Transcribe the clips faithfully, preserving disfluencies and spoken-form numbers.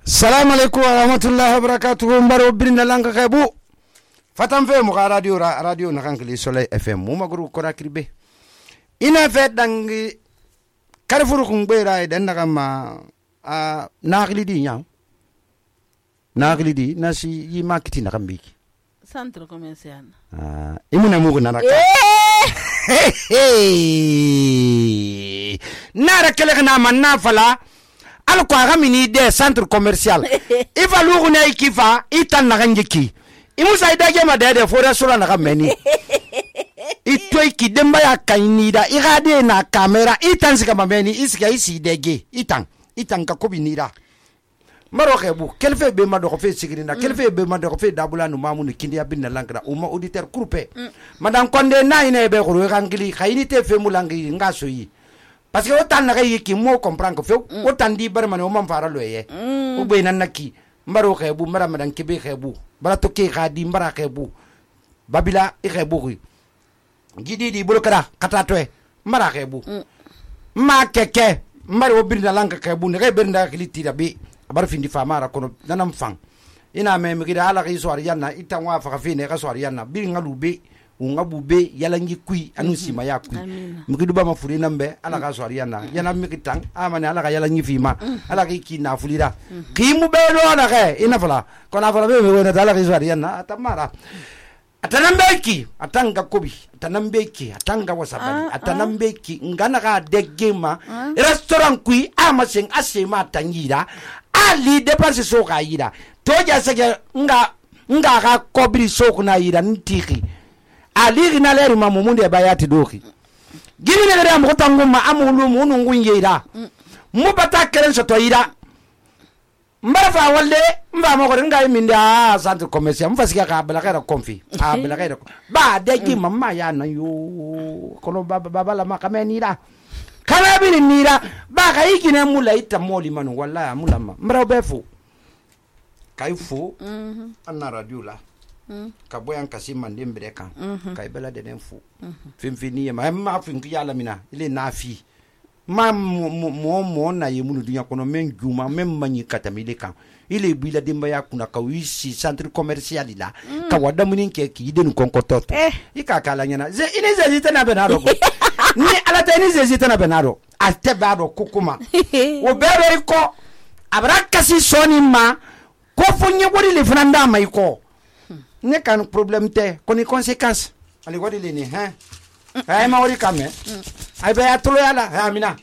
Salamu alaikum wa rahmatullahi wa barakatuhu. Mbaro birna langa khebu fatan fe mu radio ra radio na kankli Soleil F M mu magru kora kribe ina fe dangi karfuru kungbera idan naga ma a naghli di nya naghli di nasi yi makiti na kambiki centre commercial ah imuna mugo na raka nara kele na manna fala alko aga mini de centre commercial ifa lugu na ikifa itan na ganjiki imusa idage ma de de fora sura na gameni itoy ki demba ya kainida igade na kamera itan sika mameni isika isi dege itan itan ka kobi nida maro xebu kelfe be ma do fe sigirina kelfe be ma do fe dabula no mamu ni kindi abinna lankra uma auditeur groupe madam konde na ine be xuru xangili khayni te fe mulangi ngaso yi parce que autant na yiki mo comprendre que fe autant di bar man o man fara loye o be nan naki mbaro xebu mara madan kebe xebu bala to ke khadi mbara xebu babila i xebu wi gidi di bulu kara kata toy mara xebu ma keke mbaro birna lanka xebu ne birna khiliti da be abar findi famara kono nanam fang ina me mi gida ala ki so ariana itanwa fa fine ka so ariana bi ngalube ungabube yala ngi kui anu sima ya kui mi gidu ba ma furi nambe ala ka so ariana yana mi kitang amane ala ka yala ngi fima ala ki kina fulira ki mu be do na ke ina fala kona fala be me wona ala ki so ariana atamara atanambeki atanga kobi atanambeki atanga wasabali atanambeki ngana ka degema restaurant kui amaseng asema tangira ali dépense so ka yira toja sege nga nga ka kobri so kuna yira ntiki ali gina leri mamu munde bayati doki gimi ne gada mo tanguma amulu munu ngunyeira mu bata keren so to yira mbarfa walle mba mo ko nga minda centre commercial mfasika ka bala ka konfi a bala ka ba degi mamma ya na yo kono baba baba la makamenira kana bini nira ba ka yikine mula ita moli manu wallahi mulama mbara befu kaifu anna radio la ka boyan kasima ndembere kan kai bela de nenfu fimfini ma ma finki yala mina ile nafi ma mo mo na yemunu dunya kono men juma men manyi katamile kan ile bila demba ya kuna ka wisi centre commercial la ka wada munin ke ki den konkotot ika kala nyana ze ine ze zitana benaro ni ala ta ni ze zitana benaro ate bado kukuma wo bero iko abraka si soni ma ko fonye wori le franda mai ko ne kan problem te ko ni conséquence ali wadi le ni hein ay ma wori kame ay be atolo yala ha mina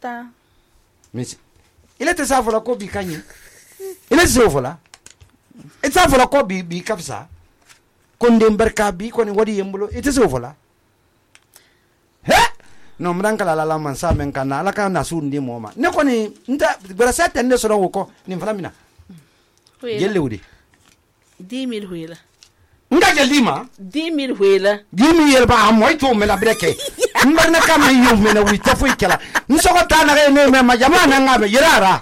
ta misi ile te sa fola ko bi kanyi ile se fola e sa fola ko bi bi kapsa ko ndem barka bi ko ni wadi yembulo ite se fola he no mranka la la man sa men kana ala ka na su ndi moma ne ko ni nda brasa tende so ro ko ni fala mina yelle wudi dix mille huila nga gelima dix mille huila dix mille ba amoy to me la breke mbarna kama yu me na wita fu ikela nsoko tana re ne me ma jamana ngabe yirara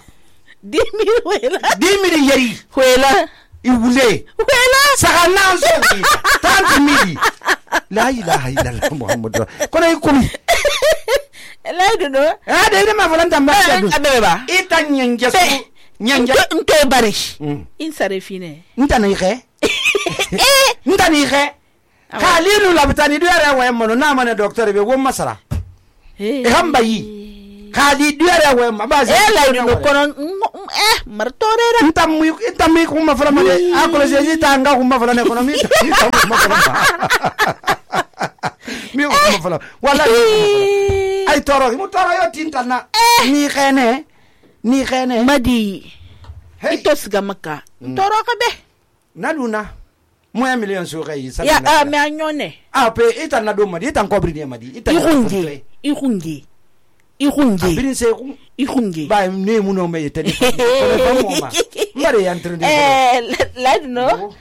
dix mille huila dix mille yeri huila iwule huila sagana so trente mille la ilaha illallah muhammad kono ikumi la do no ah de ne ma volanta mba abeba ita nyenge so nyenge nke bari in sare fine ntana ike ntana ike khalilu labtani duare wa mono na mane docteur be wo masara e hamba yi khali duare wa ma ba e la do kono eh martorera ntam mu ntam mi ko ma fala mane akolo je tanga ko ma fala ne kono mi ma fala mi ko ma fala wala ay toro mu toro yo tintana ni khene ni khene madi ito siga maka toro ka be naduna mo ya million so kai sa ya a me anyone a pe ita na do madi ita kobri ne madi ita ihungi ihungi ihungi birin se ku ihungi ba ne mu no me tani ko ba mo ma mare ya entre eh la no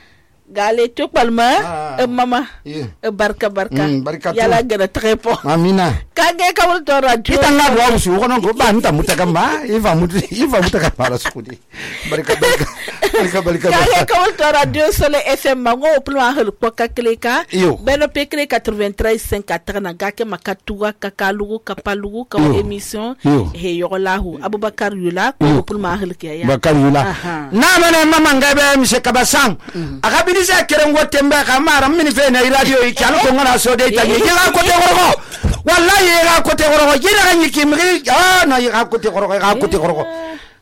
gale to palma e mama e barka barka yala gana trepo amina kage kawul to radio itanga do usu kono ko ba nta mutakamba iva mutu iva mutakamba la sukudi barka barka barka barka kage kawul to radio sole fm mango plwa hel ko kakleka beno pekre quatre-vingt-treize cinq quatre na gake makatuwa kakalugo kapalugo ka emission he yolahu abubakar yula ko plwa hel ke ya bakar yula na mena mama ngabe mise kabasang akabini sa kerengo tembe kamara mini fe na radio ikalo ko ngana so de tagi yega ko te gorgo wallahi yega ko te gorgo yega ganyi kimri ah na yega ko te gorgo yega ko te gorgo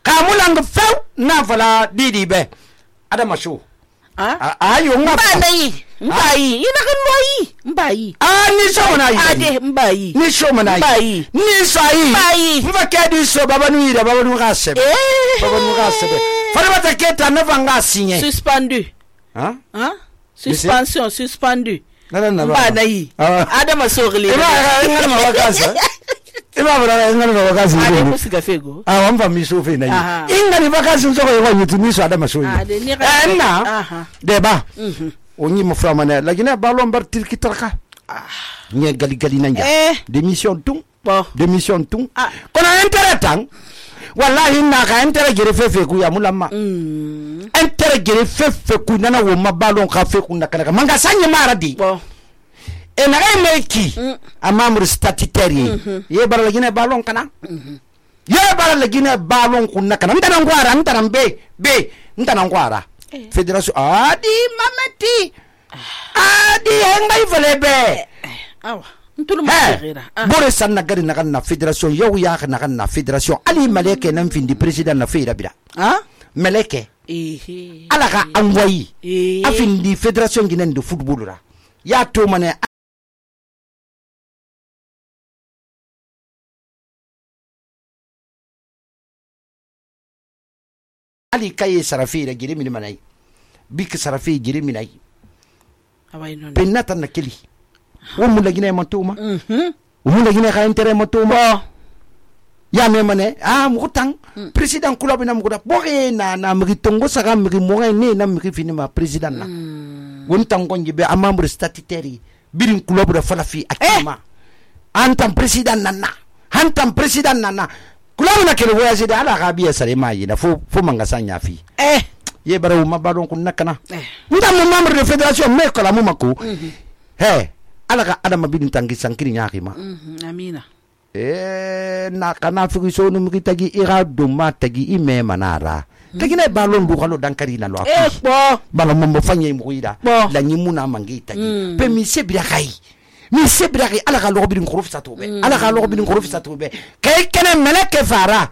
kamulang few na fala didi be adama show ah ayo ngapa mbayi mbayi ina kan moyi mbayi ah ni so na yi ade mbayi ni so na yi mbayi ni so yi mbayi mfa kedi so baba nu ira baba nu ga sebe baba nu ga sebe fara bata keta na vanga sinye suspendu hein hein suspension suspendu nana na ba na yi adama sogli iba ngana ma wakasa iba bra ngana ma wakasa ade musiga fego ah wamva misofe na yi ingani wakasa nzoko yo yutu miso adama so yi eh na deba onyi mo frama na lakini balon bar tirki tarka nye gali gali nanja démission tung démission tung kono intérêt tang wallahi na ka intérêt gere fefe ku ya mulama intérêt gere fefe ku nana wo mabalon ka fe ku nakana manga sanye maradi e na ga meki amamur statutaire ye bar la gine balon kana ye bar la gine balon ku nakana ndana ngwara ndana be be ndana ngwara fédération adi mamati adi hengai volebe awa ntulu magira bore sanna gari na na fédération yow ya na na fédération ali maleke nan findi président na feira bida ha maleke ehe ala ka anwayi afindi fédération ginen de football ra ya to mane ali kaye sarafi da gire min manai bik sarafi gire min ai awai non penata na keli wo mu lagine matuma mhm wo lagine ka intérêt matuma ya me mane ah mu tang président club na mu da boge na na mi tongo saka mi mo ne na mi fini ma président na won tango njibe amambre statutaire birin club da fala fi akima antam président nana antam président nana club na kele voyage da ala ka biya sare mai na fo fo manga sanya fi eh ye bara ma badon kun nakana ndam mo membre de fédération me ko la mo mako he ala ka adama bin tangi sankiri nyaaki ma amina eh na kana fi so no mi tagi ira do ma tagi ime manara tagi na balon bu xalo dankari na lo eh bo bala mo mo fanye mo ida la nyi muna mangi tagi pe mi se bira kai mi se bira kai ala ka lo bin khuruf sa tobe ala ka lo bin khuruf sa tobe kay kene meleke fara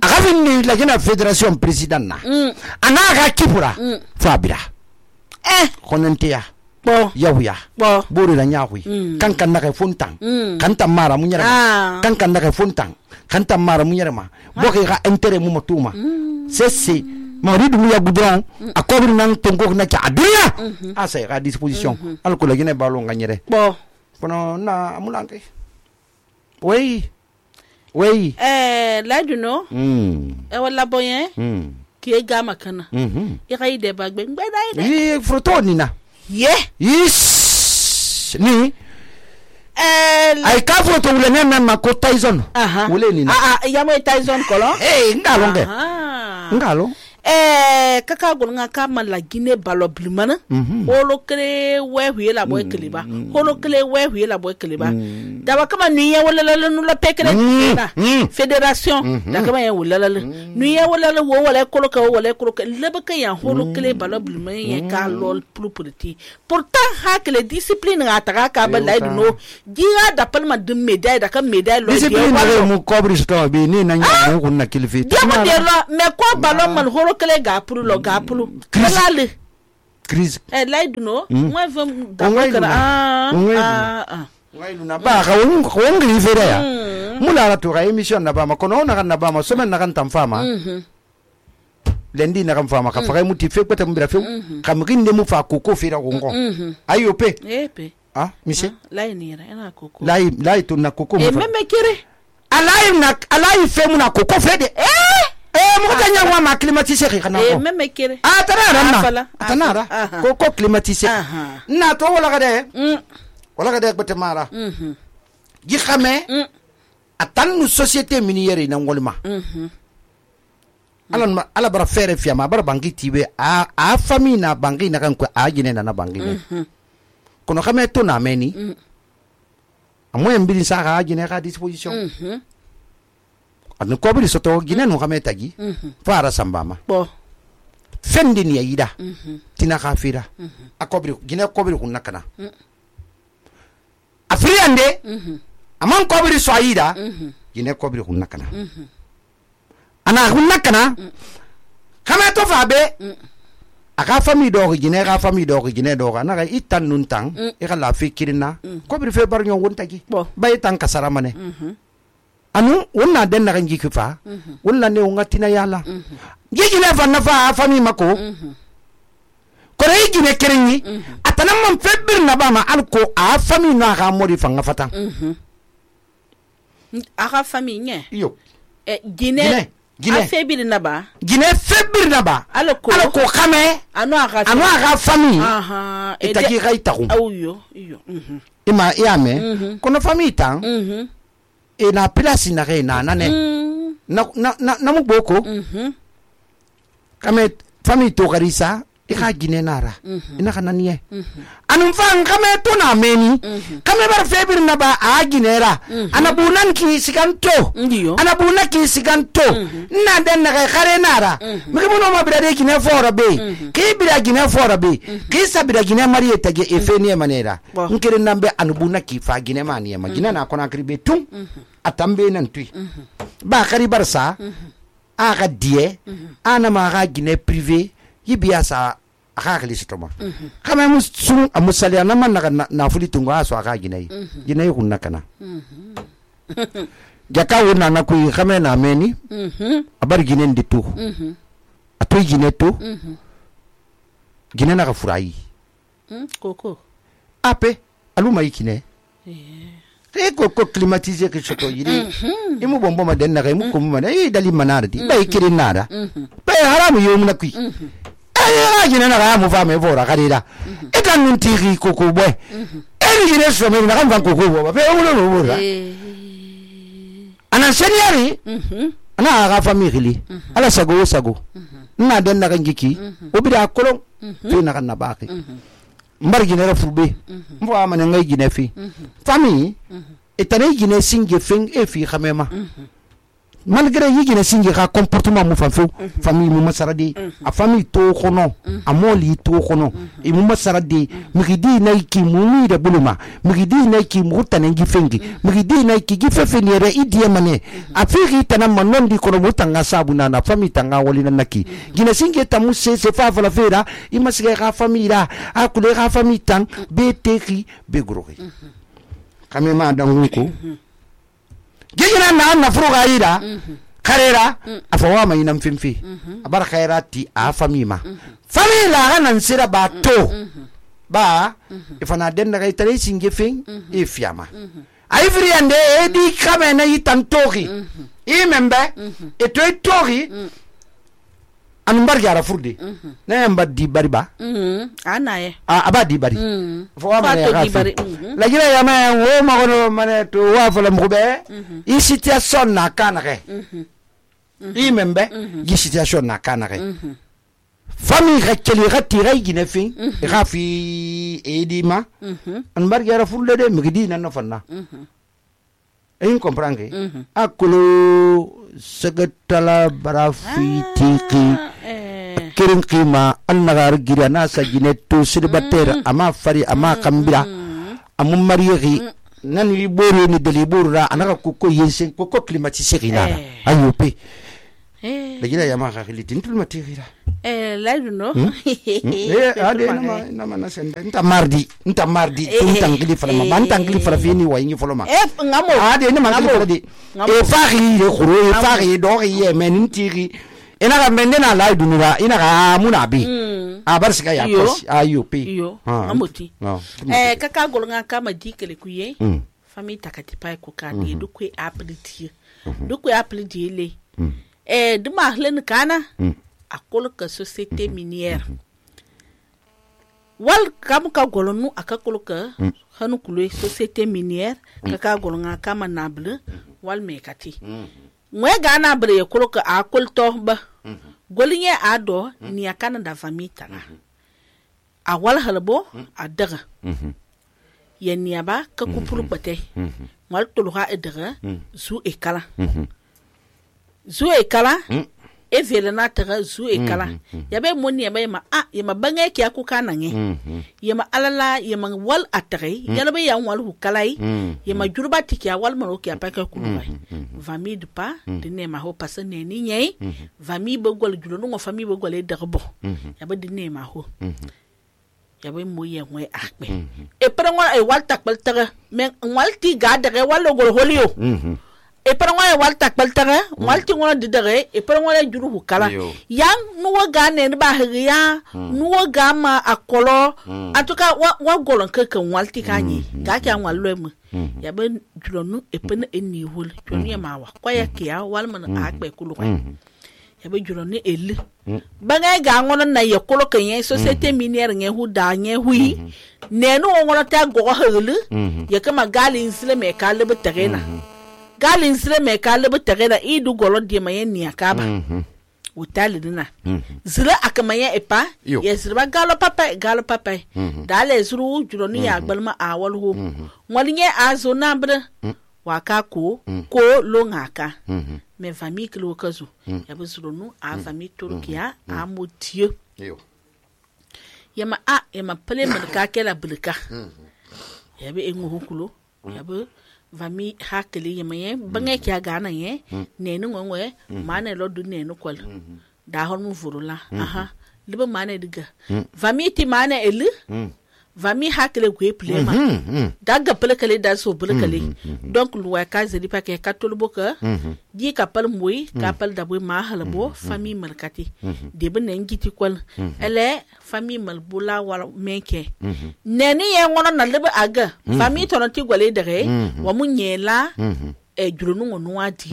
aga finni la gina fédération président na ana ga kipura fabira eh konentia bo yawya bo bori la nyawi kan kan na fontan kan ta mara munyara kan kan na fontan kan ta mara munyara ma bo ga intérêt mu matuma c'est c'est maridu mu ya goudron akobri nan tongo na ca adunya asa ga disposition al ko la gina balo nganyere bo kono na amulanke oui oui eh la du no mm e wala boyen mm ki e gama kana mhm e ga ide bagbe ngbeda ide e foto ni na ye yes ni eh ay ka foto wule ne memma ko Tyson wule ni na ah ah ya mo Tyson kolo eh ngalo nge ngalo eh kaka gonga kama la Guinée balo blimana holo kle we huela boy kliba holo kle we huela boy kliba dawa kama nuye wala la nu la pekre na fédération da kama ya wala la nuye wala la wo wala kolo ka wala kolo ka leba ka ya holo kle balo blimana ya ka lol plus petit pourtant ha que les disciplines ataka ka ba la no gira da palma de médaille da ka médaille lo discipline mu cobri sto bi ni na nyu ko na kilfi diamo de lo mais ko ballon man holo kele gapulu lo gapulu kalale crise eh laidu no moi vam da kara ah ah ngailu na ba ka won ko ngi fere ya mula la to ga émission na ba ma kono na kan na ba ma semaine na kan tam fama lendi na kan fama ka fa muti fe kwata mbira fe kam ginde mu fa koko fira gongo ayo pe eh pe ah monsieur lai ni ra na koko lai lai to na koko mu e meme kire alai na alai fe mu na koko fe de eh mo tanya wa ma climatiser kana eh ko meme kere ah tanara na Afala, tanara aha. ko ko climatiser Aha. na to wala ga de mm wala ga de gbete mara mhm gi xame mm atan nu société minière na ngolma mhm ala ma ala bara fere fiama bara bangi tibe a a famille na bangi na kan ko a jine na na bangi ne kono xame to na meni amoyen mbili sa ga jine ga disposition mhm an ko bi soto gine no xame tagi fara sambama bo fendi ni yida mhm tina khafira akobri gine kobri kunna kana afriande mhm aman kobri so yida mhm gine kobri kunna kana ana kunna kana kama to fa be aka famille do gine ga famille do gine do na ga itan nun tang e kala fikirina kobri fe bar nyon wontagi Bo. bay tan kasara mane mhm anu wonna den na ganji kifa wonna ne ngatina yala gigi ne fa na fa famille mako kore gine kerenyi atana man febir na ba ma alko a famille na ga modi fanga fatan mhm aka famille nye yo eh Gine, gine Gine. a febiri na ba gine febir na ba alko alko khame ano aka anu ga famille aha itagi ga itaku au yo yo mhm ima yame kono famille tan mhm e na place na re na na ne mhm na na na, na mu boko mhm kame famille to garisa e ga gine nara ina kana niye anum fan kame to na meni kame bar febir na ba a ginera ana bunan ki siganto ndiyo ana buna ki siganto na den na khare nara mi mo no ma bira de gine fora be ki bira gine fora be ki sabira gine mariye tage e feni manera Bo. nkere nambe anu buna ki fa gine mani ma gine na kona kribe tum atambe nan tui ba khari barsa a ga die ana ma ga gine privé yibiya sa aka kali sitoma kama mu sun amusali na man na na fuli tungo aso aka gine gine ku nakana jaka wona na ku kama na meni mhm abar gine nditu mhm atoy gine to mhm gine na ka furai mhm koko ape aluma ikine e ko ko climatiser ke choto yiri imu bombo ma den na kai mu ko mu ma e dali manara di bay kirin nara bay haramu yo mu na ku ay gine na ga mu fa me fora kadira e kan nun tiri ko ko boy e gine so me na kan ko ko bo be ulo no bo eh ana seniori mhm ana ga family ala sago sago na den na kan giki obida kolon fi na kan na baki mbar gine ra fube mbo amane ngai gine fi famille etane gine singe feng e fi khamema malgré yi gine singe ka comportement mu fa fu famille mu masaradi a famille to khono a moli to khono e mu masaradi migidi nay ki mu mi de buluma migidi nay ki mu tanen gi fengi migidi nay ki gi fefeni re idie mane a fi tanam manon di kono mutanga sabuna na famille tanga wali na naki gine singe tamu se se fa la fera i masge ka famille ra a kule ka famille tan be teki be grogi kame ma dangu ko gigina na na fruga ida karera afawa mai nan fimfi abar khairati a famima famila ganan sira ba to ba ifana den daga tare singe fin e fiama ai friande e di kame na yitan toki i membe e to toki an bar gara furde na yamba di bari ba mhm ana ye a abadi bari fo wa mane Fato di bari, ga mhm. la gira ya ma wo ma gono mane to wa fo la mkhube i situation na kana ke i membe i situation na kana ke famille rekeli gati gai gine fin ga fi edima an bar gara furde de migidi na no fanna e in comprendre akolo segatala barafitiki eh kirin kima an nagar gira na sa gineto sirbater ama fari ama kambira amun mariyegi nan li boro ni dali borura anaka koko yensen koko climatisé ginara ayope eh la gira yama khali tintul matigira eh la no eh ade nama nama na sende nta mardi nta mardi nta ngili fala ma nta ngili fala fini wa ingi fala ma eh ngamo ade nama ngili fala di e faxi de khoro e faxi do ye men ntiri ina ga mendena la dunura ina ga muna bi a bar sika ya Yo. pas ayupi yo amoti no eh kaka golnga kama dikele kuye Mm. famille takati pa ko ka de du kwe appeliti du kwe appeliti le eh duma hlen kana a kolo ka société minière wal kam ka golonu aka kolo ka hanu kulo société minière ka ka golonga kama nable wal mekati mwe gana bre kolo ka a kolto ba golinye ado ni akana da famille tana a wal halbo a daga ya niaba ka kupuru bate wal tuluha edaga zu ekala zu ekala e vele na taga zu ekala ya be moni ya be ma a ya ma bange ki akuka nange ya ma alala ya ma wal atare ya be ya wal hu kalai ya ma jurba tiki ya wal maro ki apaka kulubai vami de pa de ne ma ho pasa ne ni nyai vami be gol julo no fami be gol e dagbo ya be de ne ma ho ya be mo ye ngwe akbe e para ngwa e wal takbal taga men wal ti ga daga wal gol holio e para ngwa e wal takbal taga wal ti ngwa de daga e para ngwa juru hu kala yang nuwa ga ne ba hiriya nuwa ga ma akolo atuka wa, wa golon kekan wal ti kanyi ga kya wal lo mu ya be juro nu e pene eni hol jonu ya mawa kwa ya kiya wal man akbe kulu kwa ya be juro ni eli banga ga ngono na ye kolo kenye société minière nge hu da nge hui ne no ngono ta go helu ya kama galin sile me ka lebe terena galin sile me ka lebe terena idu golo di maye ni akaba utali dina zira akama ye epa ye zira galo papa galo papa dale zuru juro ni ya gbalma awal hu ngolinye azo nabre waka ko ko lo ngaka me famille kilo kazu ya bezuro nu a famille turkiya a motieu ya ma a ya ma pele man ka kela bulka ya be engu hukulo ya be famille hakeli ya maye bange kya gana ye ne nu ngwe mane lo du ne nu kwal da hon mu furula aha liba mane diga famille ti mane elu vami hakele gwe plema daga pelekele da so pelekele donc luwa ka zeli pa ke katol boka di kapal moy kapal da boy ma halabo famille malkati de ben ngiti kwal ele famille malbula wala menke neni ye ngono na lebe aga famille tonoti gwale dere wa munyela e jurunu ngonu adi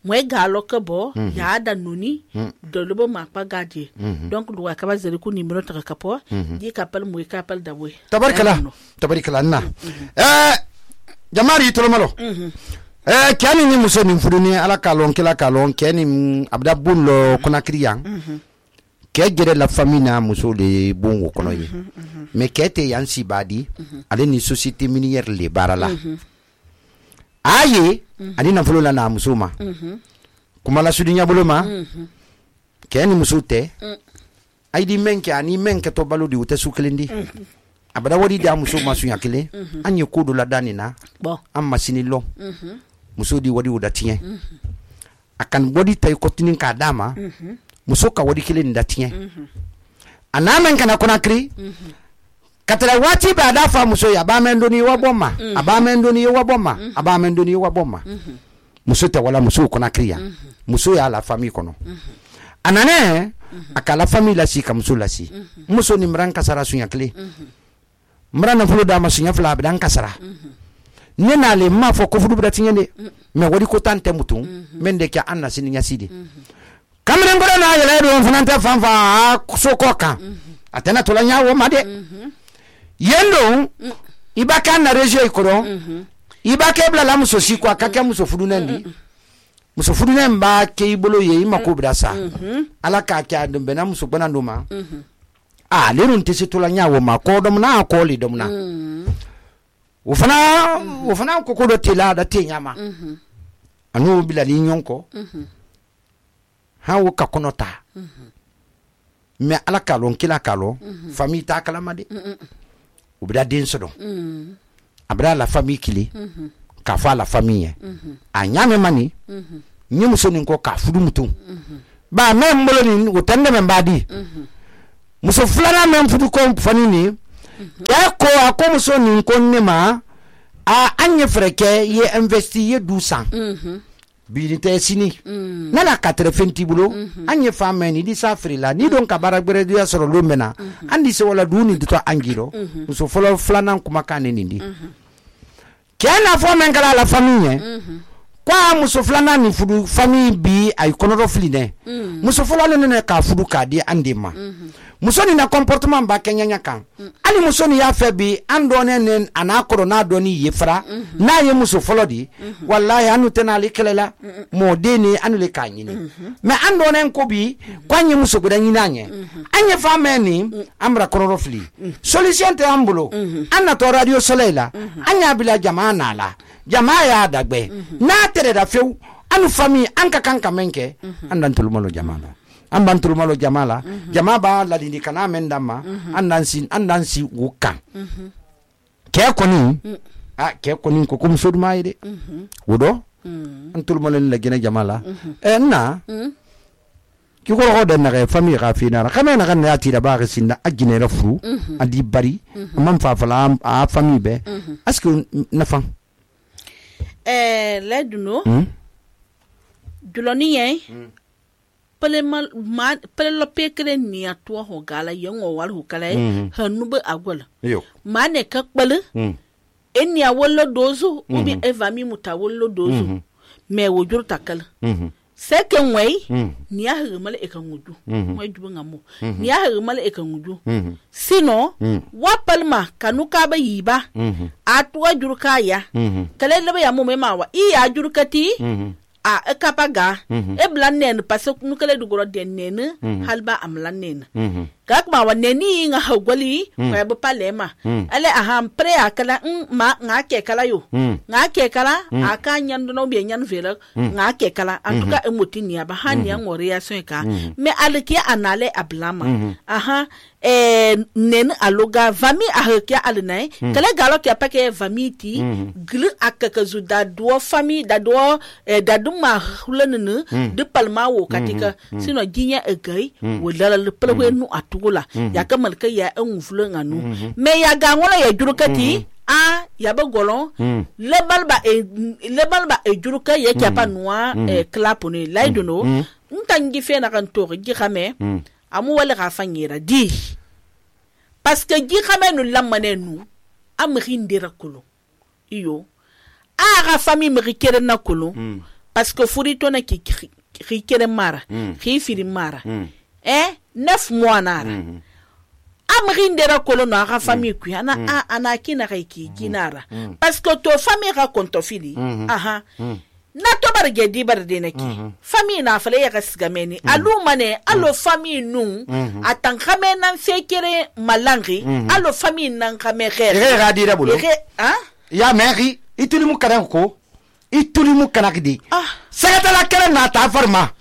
mwe galo kebo ya da nuni do lobo makpa gadi donc luwa ka bazeli ku nimero ta kapo di kapal moy kapal da boy tabarkala tabarkala na eh jamari tolomalo eh kyani ni muso ni fuduni ala kalon kila kalon kyani abda bunlo kuna kriyan ke gere la famille na muso le bongo kono yi mais kete yansi badi ale ni société minière le barala aye ani na fulo la na musuma kuma la sudinya buluma kyani musute ay di menke ani menke to balu di ute sukelindi abada wodi da muso masu yakile anye kodo la danina bon am masini lo muso di wodi udatien akan wodi tay kotinin ka dama muso ka wodi kile ndatien anamen kana kona kri katara wati ba da fa muso ya ba mendo ni waboma aba mendo ni waboma aba mendo ni waboma muso te wala muso kona kriya muso ya la famille kono anane akala famille la si kam muso la si muso ni mran kasara sunya kle mran na fulo da ma sunya fla bidan kasara nena le ma fo ko fudu bratinye de me wodi ko tante mutum mende kya anna sini nya sidi kamre ngoro na yele do funante fanfa so ko kan atena to la nya wo made yendo ibaka na regio ikoro ibaka bla la muso si kwa kaka muso fudu nandi muso fudu nemba ke ibolo ye imako brasa ala ka kya dembe na muso bana ndoma ah lerun tese to la nya wo ma ko dom na ko li dom na ufana ufana ko ko do tela da te nyama anu bila li nyonko ha wo ka konota me ala kalon kila kalon famille ta kala made ubida den sodo abra la famille kili ka fa la famille a nyame mani nyum so ni ko ka fudu mutum ba men mbolo ni o tande men badi muso fulana men fudu ko fani ni ya ko ako muso ni ko nema a anye freke ye investi ye douze ans bi te sini na la quatre-vingts bulo anye femme ni di safri la ni don ka baragbere dia soro lo mena andi se wala duni to angiro muso folo flana kuma kaneni ndi kena fo men kala la famille kwa muso filana ni fudu famille bi ay konoro fili ne muso fɔlɔ le ne ka fudu ka di ande ma muso ni na comportement ba kenyanya kan ali muso ni ya fɛ bi an dɔne ne ana koro na dɔni ye fara na ye muso fɔlɔ di wallahi anu tena ali kelela mo de ni anu le ka ɲini mais an dɔne ko bi kwa nye muso guda ɲini an ye an ye fa mɛ ni amra konoro fili solution te an bolo an na to radio soleil la an ya bila jama na la jama ya dagbe na tere da few anu famille an ka kan ka menke an dan tulumalo jama la an ban tulumalo jama la jama ba la dindi kana men dama an dan sin an dan si wuka ke koni a ke koni ko kum sodma ide wodo an tulumalo la gene jama la e na ki ko ro den na famille ga fina ra kama na kan ya ti da ba ga sinda agine ra furu adi bari man fa fala a famille be aske na fa eh leduno duloni yen pele mal pele lo pekre ni atwa ho gala yen o wal ho kala hanu be agwala yo mane ka kpele eni a wollo dozu ubi evami muta wollo dozu me wo jur takal second way ni a hirmal e kan wudu way dubu ngamo ni a hirmal e kan wudu sino wa palma kanu ka ba yiba atwa jur kaya kale lebe ya mo me mawa i ya jur kati a ekapaga e blannen parce que nukale du goro denen halba amlannen gak ma waneni nga hawgali ko be palema ale aham pre akala ma nga ke kala yo nga ke kala aka nyando no be nyan vela nga ke kala antuka emotini aba hani an reaction ka me alki anale ablama aha eh nen aloga vami ahkia alnai kala galo ke apake vami ti glu akaka zu da do famille da do da duma hulanene de palma wo katika sino ginya egai wo dala le plewe nu atugula ya kamal ka ya en fulan anu me ya ga ngola ya jurukati a ya ba golon le balba e le balba e juruka ya kya pa noa e klapone laidono ntangi fe na kan to gi xame amu wala ga fanyira di parce que gi xame nu lamane nu am rindira kulu iyo a ga famille me rikere na kulu parce que furito na ki rikere mara ki firi mara eh neuf mois nara am rindira kulu na ga famille ku ana ana kina ga ki kinara parce que to famille ra konto fili aha na to barge di barde neki famille na fale ya gasgameni alu mane allo famille nu atan khame nan fekere malangi allo famille nan khame khere re ga di da bolo ha ya meri ituli mu karan ko ituli mu kanakdi ah sagata la kere na ta farma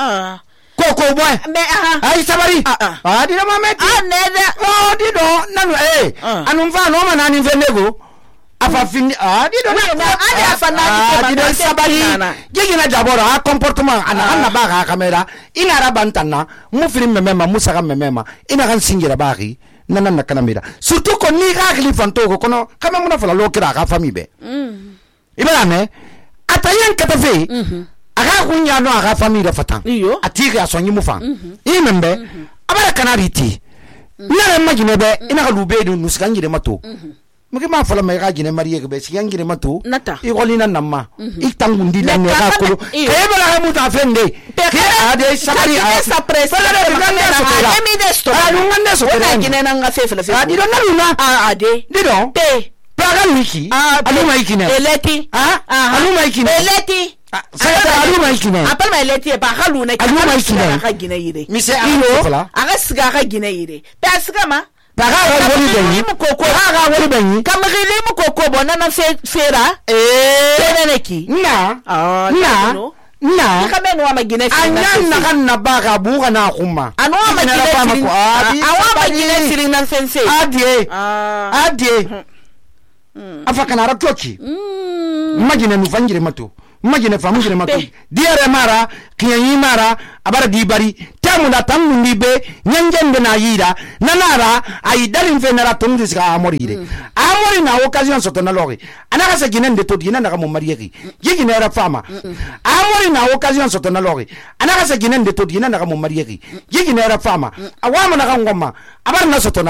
ah koko boy me aha ay sabari ah ah di ma meti ah neda oh di do nanu eh anu fa no manani fenego afa fini ah di do na ali afa na di do sabari gigi na jaboro ha comportement ana ana ba ga kamera ina rabantana mu film memema musa ga memema ina kan singira baki nana na kanamira surtout ko ni ga khili fanto ko kono kama muna fala lo kira ga famille be mm ibala ne atayen katafe aga kunya no aga famille fatan ati ga sonyi mu fan imembe abara kanariti nare majine be ina ga lube du nuskangire mato muke ma fala mai ga gine mariye be siyangire mato i golina namma i tangundi la ne ga ko ke bala ga muta fende ke ade sabari a sa presse na emi de sto a ngande so na gine na nga fe fe fe di do na luna a ade di do pe praga wiki alu mai kine eleti ah alu mai kine eleti sagata alu mai kine apal mai eleti ba halu na alu mai kine ga gine yire mi se alu fala aga siga ga gine yire pe asiga ma daga wori benyi koko daga wori benyi kamgili mu koko bona na fe fera eh teneneki na ah na na kame no magine fira anya na kan na baga buga na kuma anu magine fira awa magine fira na sense adie adie afaka na ratoki magine mu fangire mato magine famugire mato diare mara kiyanyi mara abara dibari tamu da tamu ndibe nyanjende na yira nanara ay dalin fe nara tongi ska amorire amori na occasion soto na lori anaka se ginen de to ginen na mo marieki gine era fama amori na occasion soto na lori anaka se ginen de to ginen na mo marieki gine era fama awama na ngoma abara na soto na